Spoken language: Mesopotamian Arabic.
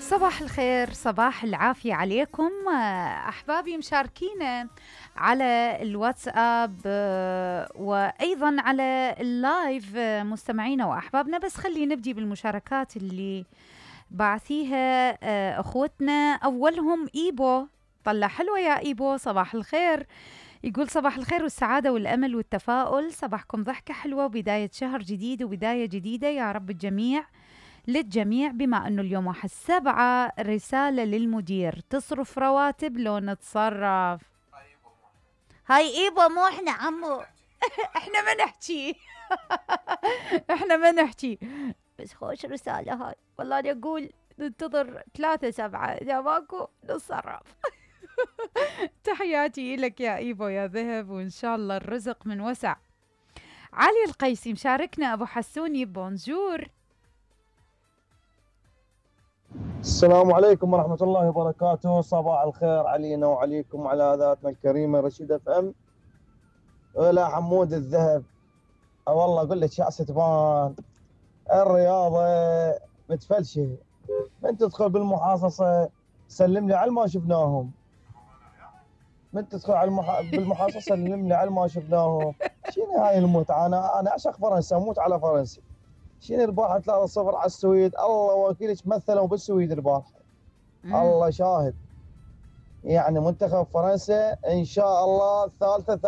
صباح الخير، صباح العافية عليكم أحبابي مشاركينا على الواتساب وأيضا على اللايف مستمعينا وأحبابنا. بس خلينا نبدي بالمشاركات اللي بعثيها أخوتنا. أولهم إيبو، طلع حلوة يا إيبو، صباح الخير. يقول صباح الخير والسعادة والأمل والتفاؤل، صباحكم ضحكة حلوة وبداية شهر جديد وبداية جديدة يا رب الجميع للجميع. بما أنه اليوم 1/7، رسالة للمدير: تصرف رواتب لو نتصرف. هاي إيبو مو إحنا عمو إحنا ما نحكي إحنا ما نحكي، بس خوش رسالة هاي والله. أنا أقول ننتظر 3/7، إذا ماكو نتصرف. تحياتي لك يا إيبو يا ذهب، وإن شاء الله الرزق من وسع. علي القيسي مشاركنا. أبو حسوني بونجور. السلام عليكم ورحمة الله وبركاته. صباح الخير علينا وعليكم وعلى ذاتنا الكريمة رشيد اف ام. ولا حمود الذهب، والله اقول لك يا ستبان، الرياضة متفلشة. من تدخل بالمحاصصة سلم لي على ما شفناهم، من تدخل على بالمحاصصة سلم لي على ما شفناهم. شنو هاي المتعة؟ انا اعشق فرنسا، اموت على فرنسا. شنو البارحة 3-0 على السويد، الله وكيلك مثلوا بالسويد البارحة. الله شاهد، يعني منتخب فرنسا ان شاء الله ثالثة